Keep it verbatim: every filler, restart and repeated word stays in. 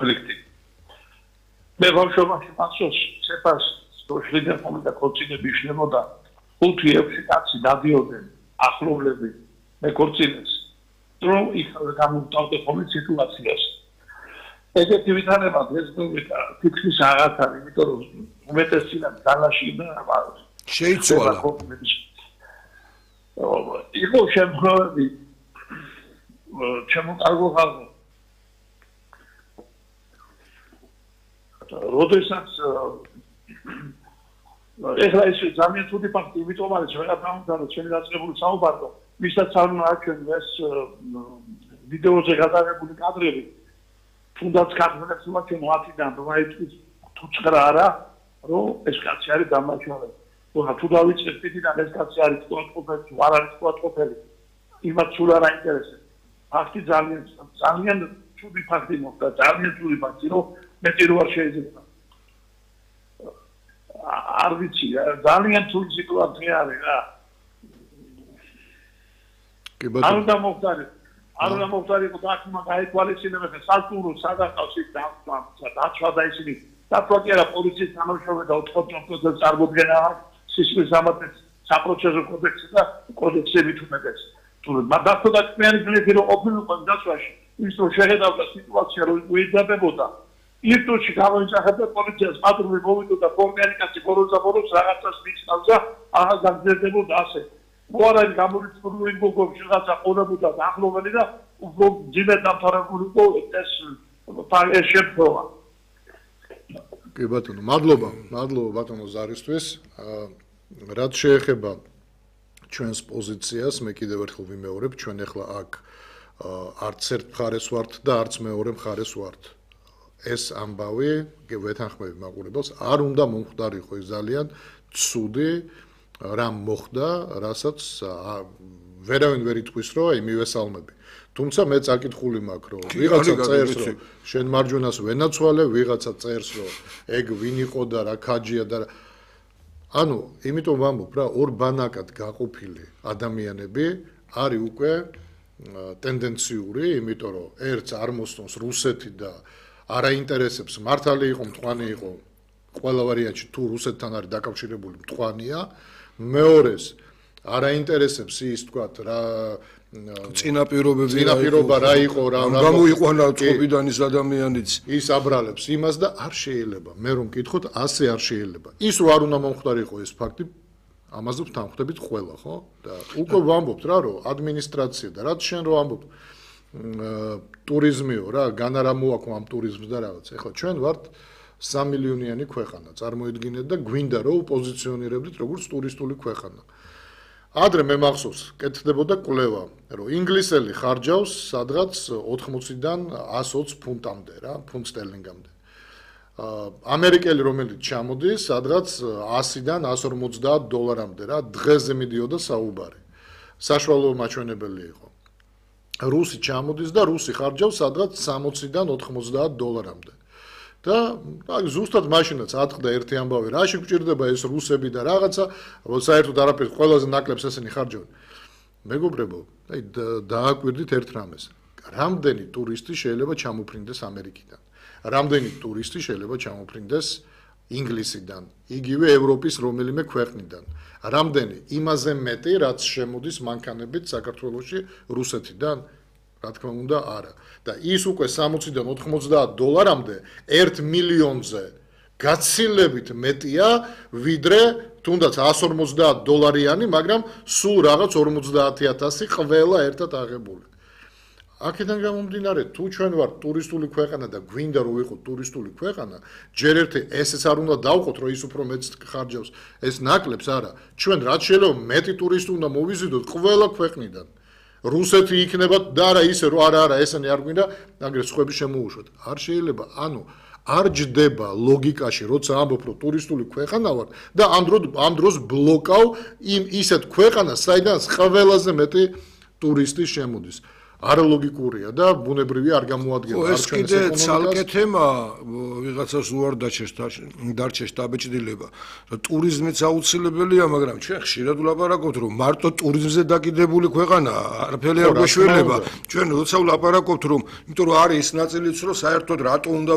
კონფლიქტი. მე ბავშვობაში მახსოვს, ცეფას შრიდან მომდა ქორწინები შნებოდა ხუთი ექვსი კაცი დადიოდნენ ახლობლები მე ქორწინებს. რომ იქ გამოვტავდა ხოლმე სიტუაციას. ეგეთი ვითარება დღეს თითქმის აღარ არის, იმიტომ რომ უმეტესწილად დალაში და შეიცვალა. იყო შემთხვევები ჩემო კარგო ხალხო. როდესაც ეხლა ეს ძალიან ცუდი ფაქტი, იმიტომ არის ვეღარ დავუმთავრე ჩვენი დაწყებული საუბარი, ვისაც არ უნდა აჩვენო ეს ვიდეოზე გადაღებული კადრები. თუნდაც კადრებს უნდა ჩვენ ვათიდან რომ აი თუ ცხრა არა, რომ ეს კაცი არის დამაჩვენებელი. თუ დავიწყებ თვითონ ეს კაცი არის თვალყופელი, თუ არ არის თვალყופელი, იმათ სულ არ აინტერესებს. ფაქტი ძალიან ძალიან ცუდი ფაქტი მოხდა, ძალიან ცუდი ფაქტი, რომ მეტი რო არ შეიძლება. არ ვიცი, ძალიან ცუდი სიტუაცია არის რა. კი ბატონო. არ უნდა მოხდარი. არ უნდა მოხდარიყო და აქ უნდა გაეთვალისწინებინე სალტურო სადახავს ის დაცვა და ისინი დაცვა კი არა პოლიციის თანამშრომელი და ოთხმოცდაოთხ წარმოდგენა სისხლის სამართლის საპროცესო კოდექსი და კოდექსები თუნდაც. თუ მაგათო და თქვენი გლეხი რომ ყოფილიყო დაცვაში, ის რომ შეხედავდა სიტუაცია რომ უიძაბებოდა ირტოში გამოიჭახებდა პოლიციას პატრული მოვიდოდა ფორმიანი კაცი ბოლოს და ბოლოს რაღაცას მიცნავს და აღარ გაგზერდებოდა ასე. მოარაი გამორიცხული გოგოებში რაღაცა ყოლებოდა ახლობელი და უფრო ძიმედ დამთავრებული იყო ეს ეს შეფროვა. კი ბატონო, მადლობა, მადლობა ბატონო ზარისთვის. რაც შეეხება ჩვენს პოზიციას, მე კიდევ ერთხელ ვიმეორებ, ჩვენ ახლა აქ არც ერთ მხარეს ვართ და არც მეორე მხარეს ვართ. ეს ამბავი, ვეთანხმები მაყურებელს, არ უნდა მომხდარიყო ის ძალიან ცუდი რამ მოხდა, რასაც ვერავინ ვერ იტყვის, რომ აი მივესალმები. თუმცა მე წაკითხული მაქვს, რომ ვიღაცა წერს, რომ შენ მარჯვენას ვენაცვალე, ვიღაცა წერს, რომ ეგ ვინ იყო და რა ქაჯია და ანუ, იმიტომ ვამბობ რა, ორ ბანაკად გაყოფილი ადამიანები არის უკვე ტენდენციური, იმიტომ რომ ერთს არ მოსწონს რუსეთი და არ აინტერესებს მართალი იყო, მტყვანი იყო, ყველა ვარიანტში თუ რუსეთთან არის დაკავშირებული მტყვანია, მეორეს არ აინტერესებს ის თქვათ რა წინაპირობები წინაპირობა რა იყო რა გამოიყვანა წყობიდან ის ადამიანიც ის აბრალებს იმას და არ შეიძლება მე რომ მკითხოთ ასე არ შეიძლება ის რო არ უნდა მომხდარიყო ეს ფაქტი ამაზე ვთანხმდებით ყველა ხო და უკვე ვამბობთ რა რომ ადმინისტრაცია და რაც შენ რო ამბობ ტურიზმიო რა განა რა მოაქვს ამ ტურიზმს და რაღაც ეხლა ჩვენ ვართ სამი მილიონიანი ქვეყანა წარმოიდგინეთ და გვინდა რომ უპოზიციონირებდით როგორც ტურისტული ქვეყანა ადრე მე მახსოვს კეთდებოდა კვლევა რომ ინგლისელი ხარჯავს სადღაც ოთხმოციდან ასი ოცი ფუნტამდე რა ფუნტ სტერლინგამდე ამერიკელი რომელიც ჩამოდის სადღაც ასიდან ასი ორმოცდაათ დოლარამდე რა დღეზე მიდიოდა საუბარი საშუალო მაჩვენებელი იყო რუსი ჩამოდის და რუსი ხარჯავს სადღაც სამოციდან ოთხმოცდაათ დოლარამდე და აი ზუსტად მაშინაც ატყდა ერთი ამბავი რაში გვჭირდება ეს რუსები და რაღაცა საერთოდ არაფერს ყველაზე ნაკლებს ესენი ხარჯავენ მეგობრებო აი დააკვირდით ერთ რამეს რამდენი ტურისტი შეიძლება ჩამოფრინდეს ამერიკიდან რამდენი ტურისტი შეიძლება ჩამოფრინდეს ინგლისიდან იგივე ევროპის რომელიმე ქვეყნიდან რამდენი იმაზე მეტი რაც შემოდის მანქანებით საქართველოში რუსეთიდან რა თქმა უნდა არა და ის უკვე სამოციდან ოთხმოცდაათ დოლარამდე ერთ მილიონზე გაცილებით მეტია ვიდრე თუნდაც ასი ორმოცდაათ დოლარიანი მაგრამ სულ რაღაც ორმოცდაათი ათასი ყველა ერთად აღებული აქედან გამომდინარე თუ ჩვენ ვართ ტურისტული ქვეყანა და გვინდა რომ ვიყოთ ტურისტული ქვეყანა ჯერ ერთი ესეც არ უნდა დავყოთ რომ ის უფრო მეც ხარჯავს ეს ნაკლებს არა ჩვენ რაც შეიძლება მეტი ტურისტი უნდა მოვიზიდოთ ყველა ქვეყნიდან რუსეთი იქნება და არა ისე რომ არა არა ესენი არ გვინდა აგრე სხვები შემოუშვათ არ შეიძლება ანუ არ ჯდება ლოგიკაში როცა ამბობ რომ ტურისტული ქვეყანა ვარ და ამ დროს ამ დროს ბლოკავ იმ ისეთ ქვეყანას საიდანაც ყველაზე მეტი ტურისტი შემოდის არალოგიკურია და ბუნებრივი არ გამოადგენს ეს კიდე ცალკე თემა ვიღაცას უარ დარჩეს დაბეჭდილება რომ ტურიზმიც აუცილებელია მაგრამ ჩვენ ხშირად ვლაპარაკობთ რომ მარტო ტურიზმზე დაკიდებული ქვეყანა არაფერი არ გვეშველება ჩვენ როცა ვლაპარაკობთ რომ იმიტომ რომ არის ის ნაწილიც რომ საერთოდ რატო უნდა